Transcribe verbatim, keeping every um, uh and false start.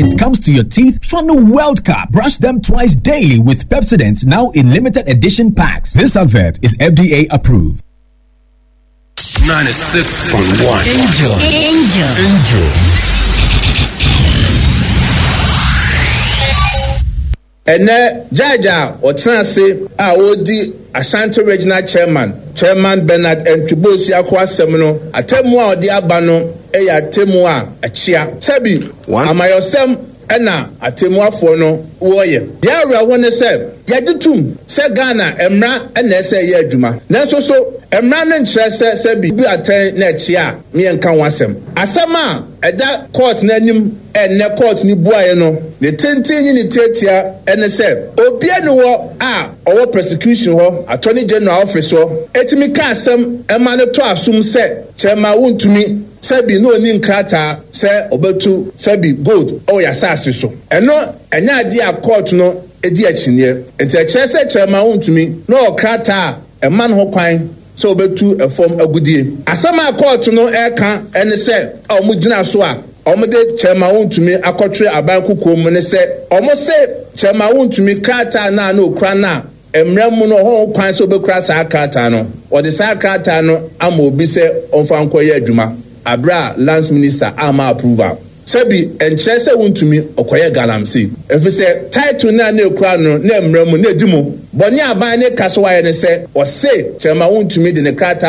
it comes to your teeth, Funnel World Cup. Brush them twice daily with Pepsodent now in limited edition packs. This advert is F D A approved. ninety-six point one. Angel. Angel. Angel. Ɛnɛ judge a ɔtena ase a ɔredi Ashanti Regional Chairman, Chairman Bernard Antwi Boasiako asɛm no, atemmu a ɔde aba no yɛ atemmu a ɛkyea. Sɛbi, amayɔsɛm ɛna atemmuafoɔ no wɔreyɛ. Deɛ awerɛho ne sɛ yɛgye tom sɛ Ghana mmara ɛna ɛsɛ ɛyɛ adwuma, nanso so mmara no nkyerɛ sɛ sɛbi bi atɛn na ɛkyea a mmiɛnka ho asɛm. Asɛm a ɛda court n'anim ɛnnɛ, court ne buaeɛ no, ne tenten ne ne tiatia ɛne sɛ obia ne wɔ a ɔwɔ prosecution hɔ, Attorney General office hɔ, etumi ka asɛm ɛma no to asom sɛ Chairman Wontumi, sɛbi, na oni nkrataa sɛ ɔbɛtu, sɛbi, gold ɛwɔ yasase so. Ɛno ɛnyɛ adeɛ a court no edi akyinnyeɛ, nti ɛkyerɛ sɛ Chairman Wontumi na ɔwɔ krataa a ɛma no ho kwan sɛ ɔbɛtu ɛfam agudie. Asɛm a court no ɛreka ɛne sɛ a wɔn gyina so a wɔde Chairman Wontumi akɔtwere aban kukuo mu ne sɛ wɔn se Chairman Wontumi krataa naa na okura na mmerɛ mu no ɔhɔ kwan sɛ ɔbɛkura saa krataa no, wɔde saa krataa no ama obi sɛ ɔmfa nkɔyɛ adwuma abere a Lands Minister ama approval. Sɛbi, nkyerɛ sɛ Wontumi ɔkɔyɛ galamsey, efisɛ title naa na ekura no na mmerɛ mu na edi mu bɔnne. Aban ne ka so wayɛ ne sɛ ɔse Chairman Wontumi de ne krataa